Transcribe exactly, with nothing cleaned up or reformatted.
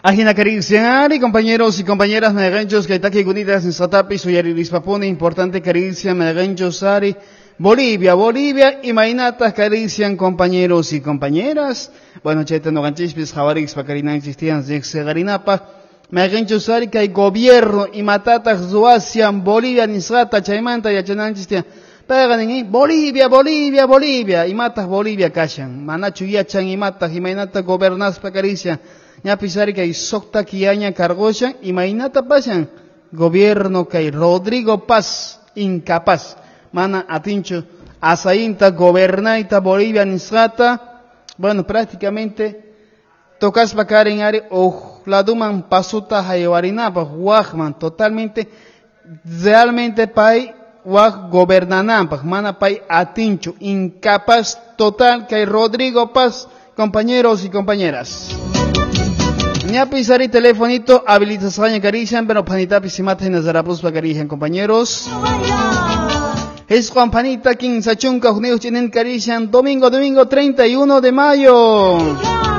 Ajina Carician, compañeros y compañeras, meganchos, que taki gunitas en Satapi, suyaririspapone, importante Carician, meganchos, ari, Bolivia, Bolivia, y Mainatas Carician, compañeros y compañeras. Bueno, cheta no ganchispis, javarix, pacarinanchis, tian, zexegarinapa, meganchos, ari, que hay gobierno, y matatas, zuasian, Bolivia, nisrata, chaymanta, yachananchis, tian. Pegan en Bolivia, Bolivia, Bolivia, y matas Bolivia, kashan, manachu yachan, y matas, y mainata gobernas, pacaricia. Ñapisari kay socta kiaña cargoshan y mainata pasan gobierno kay Rodrigo Paz incapaz mana atincho asainta gobernaita Bolivia nisrata bueno prácticamente tocas bakaren ari o laduman pasuta haywarinapa wajman totalmente realmente pay waj gobernanampa mana pay atincho incapaz total kay Rodrigo Paz compañeros y compañeras. Ñapisari telefonito habilitación carician, pero panita pisimata y nazarapus pacarijan, compañeros. Es Juan Panita, quince chunca, junio, chinen carician, domingo, domingo treinta y uno de mayo.